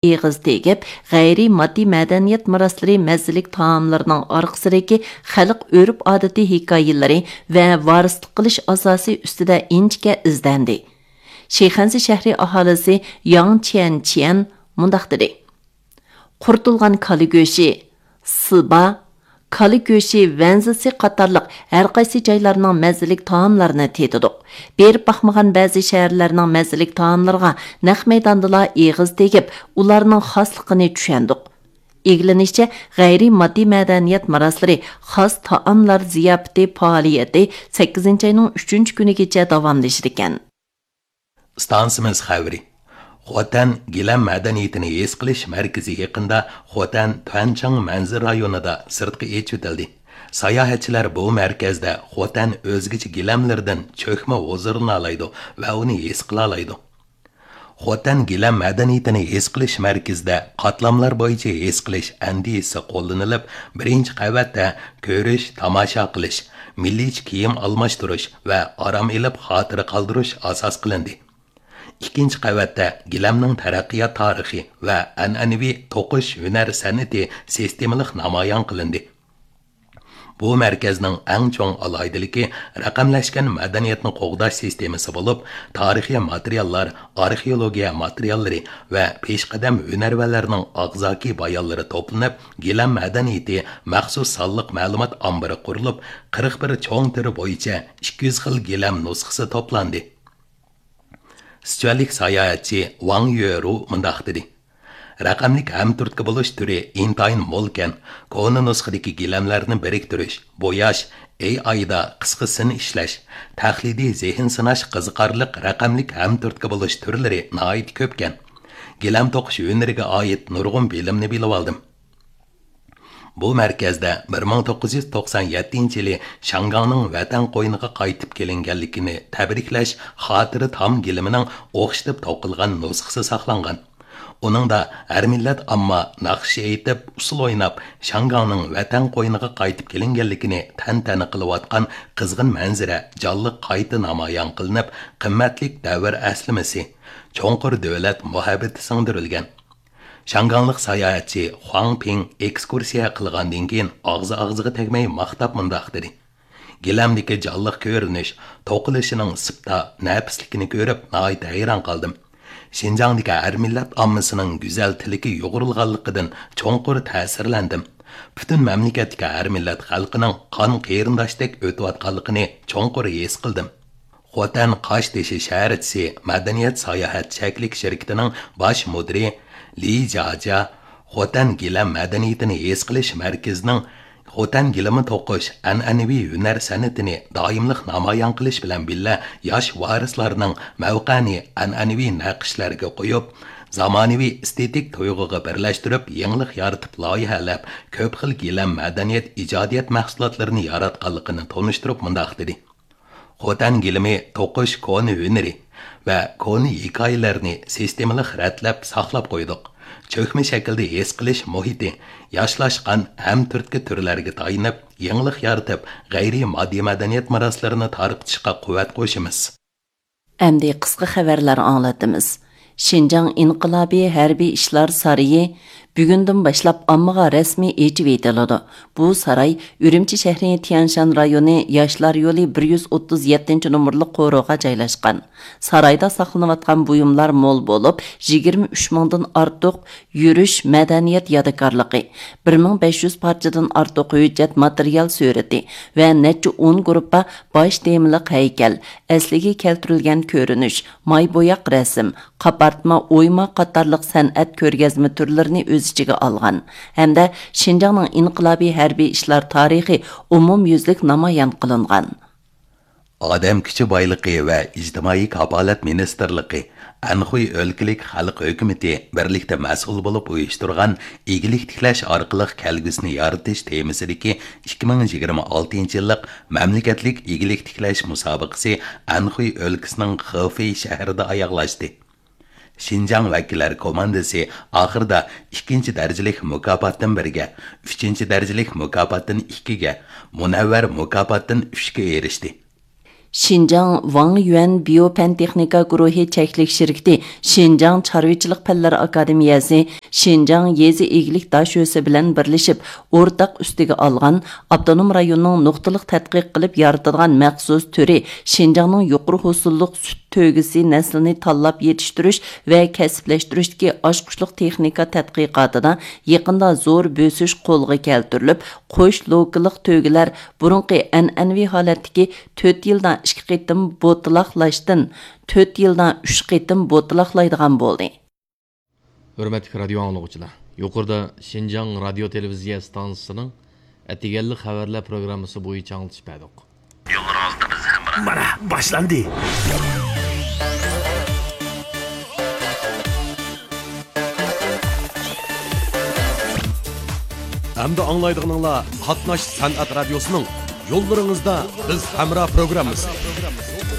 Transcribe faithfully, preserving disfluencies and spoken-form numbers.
ئېغىز تېگىپ، غەيرىي ماددىي مەدەنىيەت مىراسلىرى مەززىلىك تائاملىرىنىڭ ئارقىسىدىكى خەلق ئۆرپ-ئادىتى ھېكايىلىرى ۋە ۋارىسلىق قىلىش ئاساسى ئۈستىدە ئىنچىكە ئىزدەندى. شىخەنزە شەھىرى ئاھالىسى ياڭ چيەنچيەن مۇنداق دېدى: قۇرۇتۇلغان كالا گۆشى، سىبا، كالا گۆشى ۋەنزىسى قاتارلىق ھەر قايسى جايلارنىڭ مەززىلىك تائاملىرىنى تېتىدۇق. بېرىپ باقمىغان بەزى شەھەرلەرنىڭ مەززىلىك تائاملىرىغا نەق مەيداندىلا ئېغىز تېگىپ، ئۇلارنىڭ خاسلىقىنى چۈشەندۇق. ئىگىلىنىشىچە، غەيرىي ماددىي مەدەنىيەت مىراسلىرى خاس تائاملار زىياپىتى پائالىيىتى سەككىزىنچى ئاينىڭ ئۈچىنچى كۈنىگىچە داۋاملىشىدىكەن. ئىستانسىمىز خەۋىرى. خوتەن گىلەم مەدەنىيىتىنى ھېس قىلىش مەركىزى يېقىندا خوتەن تۈەنچاڭ مەنزىرە رايونىدا سىرتقا ئېچىۋېتىلدى. ساياھەتچىلەر بۇ مەركەزدە خوتەن ئۆزگىچە گىلەملىرىدىن چۆكمە ھۇزۇرلىنالايدۇ ۋە ئۇنى ھېس قىلالايدۇ. خوتەن گىلەم مەدەنىيىتىنى ھېس قىلىش مەركىزىدە قاتلاملار بويىچە ھېس قىلىش ئەندىزىسى قوللىنىلىپ، بىرىنچى قەۋەتتە كۆرۈش، تاماشا قىلىش، مىللىيچە كىيىم ئالماشتۇرۇش ۋە ئارام ئېلىپ خاتىرە قالدۇرۇش ئاساس قىلىندى. ئىككىنچى قەۋەتتە گىلەمنىڭ تەرەققىيات تارىخى ۋە ئەنئەنىۋى توقۇش ھۈنەر سەنئىتى سىستېمىلىق نامايان قىلىندى. بۇ مەركەزنىڭ ئەڭ چوڭ ئالاھىدىلىكى رەقەملەشكەن مەدەنىيەتنى قوغداش سىستېمىسى بولۇپ، تارىخىي ماتېرىياللار، ئارخېئولوگىيە ماتېرىياللىرى ۋە پېشقەدەم ھۈنەرۋەنلەرنىڭ ئاغزاكى بايانلىرى توپلىنىپ، گىلەم مەدەنىيىتى مەخسۇس سانلىق مەلۇمات ئامبىرى قۇرۇلۇپ، قىرىق بىر چوڭ تۈرى بويىچە ئىككى يۈز خىل گىلەم نۇسخىسى توپلاندى. سىچۈەنلىك ساياھەتچى ۋاڭ يۆرۇ مۇنداق دېدى: رەقەملىك ھەمتۈرتكە بولۇش تۈرى ئىنتايىن مولكەن، كونا نۇسخىدىكى گىلەملەرنى بىرىكتۈرۈش، بوياش، ئېي ئايدا قىسقا سىن ئىشلەش، تەقلىدىي زېھىن سىناش قىزىقارلىق رەقەملىك ھەمتۈرتكە بولۇش تۈرلىرى ناھايىتى كۆپكەن. گىلەم توقۇش ھۈنىرىگە ئائىت نۇرغۇن بىلىمنى بىلىۋالدىم. بۇ مەركەزدە بىر مىڭ توققۇز يۈز توقسان يەتتىنچى يىلى شياڭگاڭنىڭ ۋەتەن قوينىغا قايتىپ كېلىنگەنلىكىنى تەبرىكلەش خاتىرە تام گىلىمىنىڭ ئوخشىتىپ توقۇلغان نۇسخىسى ساقلانغان. ئۇنىڭدا ھەر مىللەت ئامما ناخشا ئېيتىپ، ئۇسسۇل ئويناپ، شياڭگاڭنىڭ ۋەتەن قوينىغا قايتىپ كېلىنگەنلىكىنى تەنتەنە قىلىۋاتقان قىزغىن مەنزىرە جانلىق قايتا نامايان قىلىنىپ، قىممەتلىك دەۋر ئەسلىمىسى، چوڭقۇر دۆلەت مۇھەببىتى سىڭدۈرۈلگەن. شياڭگاڭلىق ساياھەتچى خۇاڭ پىڭ ئېكسكۇرسىيە قىلغاندىن كېيىن ئاغزى ئاغزىغا تەگمەي ماختاپ مۇنداق دېدى: گىلەمدىكى جانلىق كۆرۈنۈش، توقۇلۇشىنىڭ سىپتا، نەپىسلىكىنى كۆرۈپ ناھايىتى ھەيران قالدىم. شىنجاڭدىكى ھەر مىللەت ئاممىسىنىڭ گۈزەل تىلىكى يۇغۇرۇلغانلىقىدىن چوڭقۇر تەسىرلەندىم. پۈتۈن مەملىكەتتىكى ھەر مىللەت خەلقىنىڭ قان قېرىنداشتەك ئۆتۈۋاتقانلىقىنى چوڭقۇر ھېس قىلدىم. خوتەن قاشتېشى شەھەرچىسى مەدەنىيەت ساياھەت چەكلىك شىركىتىنىڭ باش مۇدىرى لى جاجيا خوتەن گىلەم مەدەنىيىتىنى ھېس قىلىش مەركىزىنىڭ خوتەن گىلىمى توقۇش ئەنئەنىۋى ھۈنەر سەنئىتىنى دائىملىق نامايان قىلىش بىلەن بىللە، ياش ۋارىسلارنىڭ مەۋقەنى ئەنئەنىۋى نەقىشلەرگە قويۇپ، زامانىۋى ئېستېتىك تۇيغۇغا بىرلەشتۈرۈپ، يېڭىلىق يارىتىپ لايىھەلەپ، كۆپ خىل گىلەم مەدەنىيەت ئىجادىيەت مەھسۇلاتلىرىنى ياراتقانلىقىنى تونۇشتۇرۇپ مۇنداق دېدى: خوتەن گىلىمى توقۇش كونا ھۈنىرى ۋە كونا ھېكايىلەرنى سىستېمىلىق رەتلەپ ساقلاپ قويدۇق. چۆكمە شەكىلدە ھېس قىلىش مۇھىتى، ياشلاشقان ھەم تۈرتكە تۈرلەرگە تايىنىپ، يېڭىلىق يارىتىپ، غەيرىي ماددىي مەدەنىيەت مىراسلىرىنى تارقىتىشقا قۇۋۋەت قوشىمىز. ئەمدى قىسقا خەۋەرلەر ئاڭلىتىمىز. شىنجاڭ ئىنقىلابىي ھەربىي ئىشلار سارىيى بۈگۈندىن باشلاپ ئاممىغا رەسمىي ئېچىۋېتىلىدۇ. بۇ ساراي ئۈرۈمچى شەھىرى تيەنشان رايونى ياشلار يولى بىر يۈز ئوتتۇز يەتتىنچى نومۇرلۇق قورۇغا جايلاشقان. سارايدا ساقلىنىۋاتقان بۇيۇملار مول بولۇپ، يىگىرمە ئۈچ مىڭدىن ئارتۇق يۈرۈش مەدەنىيەت يادىكارلىقى، بىر مىڭ بەش يۈز پارچىدىن ئارتۇق ھۆججەت ماتېرىيال سۈرىتى ۋە نەچچە ئون گۇرۇپپا باش تېمىلىق ھەيكەل، ئەسلىگە كەلتۈرۈلگەن كۆرۈنۈش، ماي بوياق رەسىم، قاپارتما، ئويما قاتارلىق سەنئەت كۆرگەزمە تۈرلىرىنى ئۆز ئىچىگە ئالغان ھەمدە شىنجاڭنىڭ ئىنقىلابىي ھەربىي ئىشلار تارىخى ئومۇميۈزلۈك نامايان قىلىنغان. ئادەم كۈچى بايلىقى ۋە ئىجتىمائىي كاپالەت مىنىستىرلىقى، ئەنخۇي ئۆلكىلىك خەلق ھۆكۈمىتى بىرلىكتە مەسئۇل بولۇپ ئۇيۇشتۇرغان ئىگىلىك تىكلەش ئارقىلىق كەلگۈسىنى يارىتىش تېمىسىدىكى ئىككى مىڭ يىگىرمە ئالتىنچى يىللىق مەملىكەتلىك ئىگىلىك تىكلەش مۇسابىقىسى ئەنخۇي ئۆلكىسىنىڭ خېفېي شەھىرىدە ئاياغلاشتى. شىنجاڭ ۋەكىللەر كوماندىسى ئاخىرىدا ئىككىنچى دەرىجىلىك مۇكاپاتتىن بىرگە، ئۈچىنچى دەرىجىلىك مۇكاپاتتىن ئىككىگە، مۇنەۋۋەر مۇكاپاتتىن ئۈچكە ئېرىشتى. شىنجاڭ ۋاڭ يۈەن بىيو پەن تېخنىكا گۇرۇھى چەكلىك شىركىتى، شىنجاڭ چارۋىچىلىق پەنلەر ئاكادېمىيەسى، شىنجاڭ يېزا ئىگىلىك داش ئۆسى بىلەن بىرلىشىپ ئورتاق ئۈستىگە ئالغان، ئاپتونوم رايوننىڭ نۇقتىلىق تەتقىق قىلىپ يارىتىدىغان مەخسۇس تۈرى، شىنجاڭنىڭ يۇقىرى ھوسۇللۇق سۈت تۆگىسى نەسلىنى تاللاپ يېتىشتۈرۈش ۋە كەسىپلەشتۈرۈشتىكى ئاچقۇچلۇق تېخنىكا تەتقىقاتىدا يېقىندا زور بۆسۈش قولغا كەلتۈرۈلۈپ، قوش لوكىلىق تۆگىلەر بۇرۇنقى ئەنئەنىۋى ھالەتتىكى تۆت يىلدا ئىككى قېتىم بوتىلاقلاشتىن تۆت يىلدا ئۈچ قېتىم بوتىلاقلايدىغان بولدى. ھۆرمەتلىك رادىيو ئاڭلىغۇچىلار، يۇقىرىدا شىنجاڭ رادىيو تېلېۋىزىيە ئىستانسىسىنىڭ ئەتىگەنلىك خەۋەرلەر پروگراممىسى بويىچە ئاڭلىتىش بەردۇق. يوللىرىڭىزدا بىز ھەمراھ. مانا باشلاندى. ئەمدى ئاڭلايدىغىنىڭلار قاتناش سەنئەت رادىيوسىنىڭ يوللىرىڭىزدا بىز ھەمراھ پروگراممىسى.